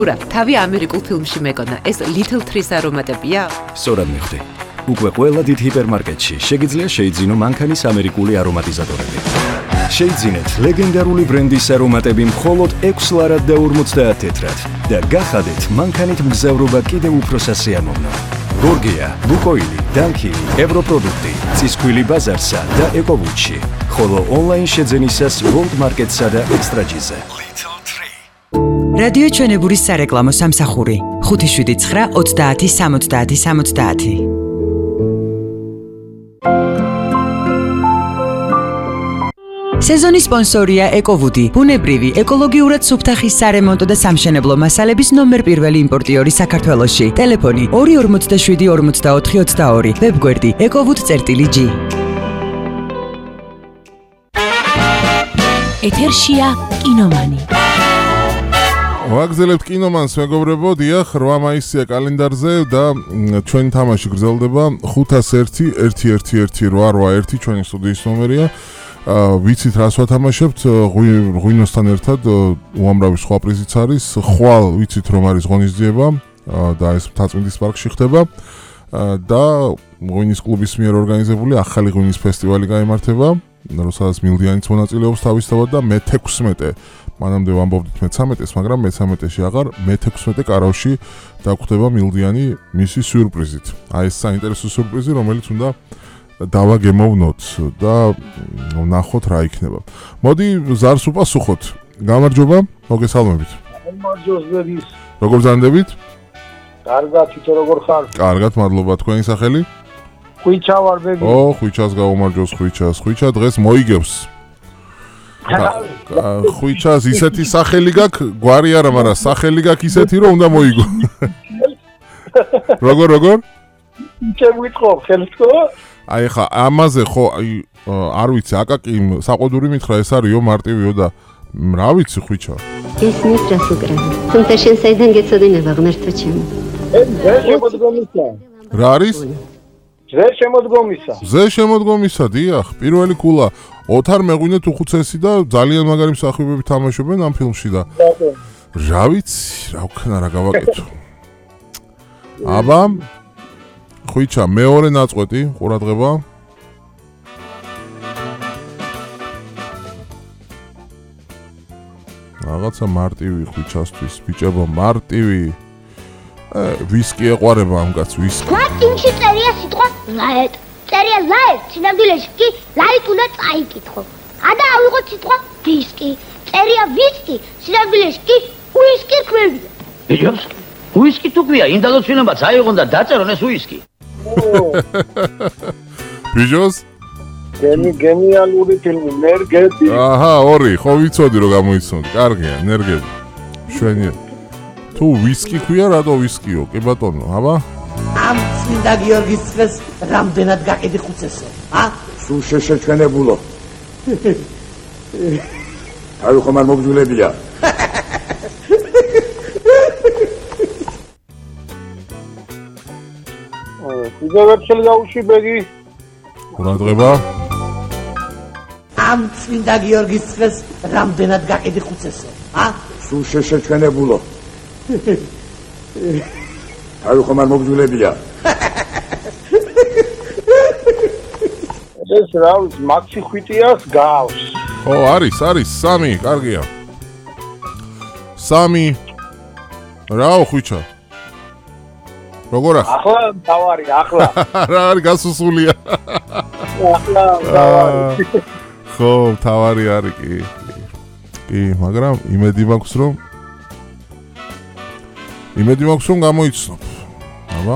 თავი ამერიკულ ფილმში მეკონა, ეს Little Trees არომატებია? სწორად მივხვდი. უკვე ყველა დიდ ჰიპერმარკეტში შეგიძლია შეიძინო მანქანის ამერიკული არომატიზატორები. შეიძინეთ ლეგენდარული ბრენდის არომატები მხოლოდ 6 ლარად და 50 თეთრად და გახადეთ მანქანით მგზავრობა კიდევ უფრო სასიამოვნო. გორგია, ლუკოილი, დანკილი, ევროპროდუქტი, ცისქვილი ბაზარსა და ეკოვუჩი, ხოლო ონლაინ შეძენისას World Market-სა და ექსტრაჯიზე. რადიო ჩვენებურის სარეკლამო სამსახური 579 30 70 70. სეზონის სპონსორია ეკოვუდი, ბუნებრივი, ეკოლოგიურად სუფთა ხის სარემონტო და სამშენებლო მასალების ნომერ პირველი იმპორტიორი საქართველოში. ტელეფონი 247 44 22, ვებგვერდი ekovud.g. ეთერშია კინომანი. ვაგზელებთ კინომანს, მეგობრებო, დიახ, 8 მაისია კალენდარზე და ჩვენი თამაში გრძელდება 501-111-881 ჩვენი სტუდიის ნომერია. ვიცით რას ვათამაშებთ, ღვინოსთან ერთად უამრავი სხვა პრიზიც არის, ხვალ ვიცით რომ არის ღონისძიება და ეს მთაწმინდის პარკში ხდება და ღვინის კლუბის მიერ ორგანიზებული ახალი ღვინის ფესტივალი გაიმართება, რომელსაც მილდიანიც მონაწილეობს თავისთავად და მე-16 მანამდე ვამბობდით მე-13-ს, მაგრამ მე-13-ში აღარ, მე-16 კარავში დაგვხდება მილდიანი მისი სიურპრიზით. აი ეს საინტერესო სიურპრიზი, რომელიც უნდა დავაგემოვნოთ და ვნახოთ რა იქნება. მოდი ზარს უპასუხოთ. გამარჯობა, მოგესალმებით. გამარჯვებით. როგორ ზანდებით? კარგად, თვითონ როგორ ხარ? კარგად, მადლობა. თქვენი სახელი? ხვიჩა ვარ, ბები. ხვიჩას გავუმარჯოს, ხვიჩა დღეს მოიგებს. ხვიჩას ისეთი სახელი გაქვს, გვარი არა, მაგრამ სახელი გაქვს ისეთი, რომ უნდა მოიგო. როგორ? შემოიწყო, ხელთქო? აი ხა ამაზე ხო არ ვიცი, აკაკი საყოდური მითხრა ეს არისო მარტივიო და რა ვიცი ხვიჩა. გესმის რას უკრავ. თუმცა შენ საიდან გეცოდინება ღმერთო ჩემო. ზე შემოდგომისა. რა არის? ზე შემოდგომისა, დიახ, პირველი კულა. ოთარ მეღვინეთ უხუცესი და ძალიან მაგარი მსახიობები თამაშობენ ამ ფილმში და რა ვიცი, რა ვქნა რა გავაკეთო. აბა ხვიჩა, მეორე ნაწყვეტი, ყურადღება. რაღაცა მარტივი ხვიჩასთვის, ბიჭებო, მარტივი. ვისკი ეყვარება ამ კაცს, ვისკი. გვატინში წერია სიტყვა ლაეტ. წერია ლაეტ, სინამდვილეში კი ლაიტ უნდა წაიკითხო. ადა ავიღოთ სიტყვა ვისკი. წერია ვისკი, სინამდვილეში კი უისკი ქვევია. ბიჭებს, უისკი თუ ქვია, ინდალოცვინებაც აიღონ და დაწერონ ეს უისკი. ბიჭოს? გენიალური ფილმი, ნერგები. აჰა, ორი, ხო ვიცოდი რომ გამოიცნოთ. კარგია, ნერგები. შვენია. თუ ვისკი ქვია, რატო ვისკიო? კი ბატონო, აბა. ამ წმინდა გიორგის დღეს რამდენად გაყიდი ხუცესო? სულ შეჩვენებულო. თავი ხომ არ მოგძულებია. ვერცელი გაუში ბეგი. ყურადღება. ამ წმინდა გიორგის დღეს რამდენად გაყიდი ხუცესო? სულ შეჩვენებულო. თავი ხომ არ მოგძულებია. ეს რა ვიცი, მაქსი ხვიტიას გავს. ხო, არის, 3, კარგია. 3. რაო ხვიჩა? როგორ ახლა? ახლა თავარი, ახლა. რა არის გასუსულია? ახლა თავარი. ხო, თავარი არის კი. კი, მაგრამ იმედი მაქვს რომ გამოიცნობ. აბა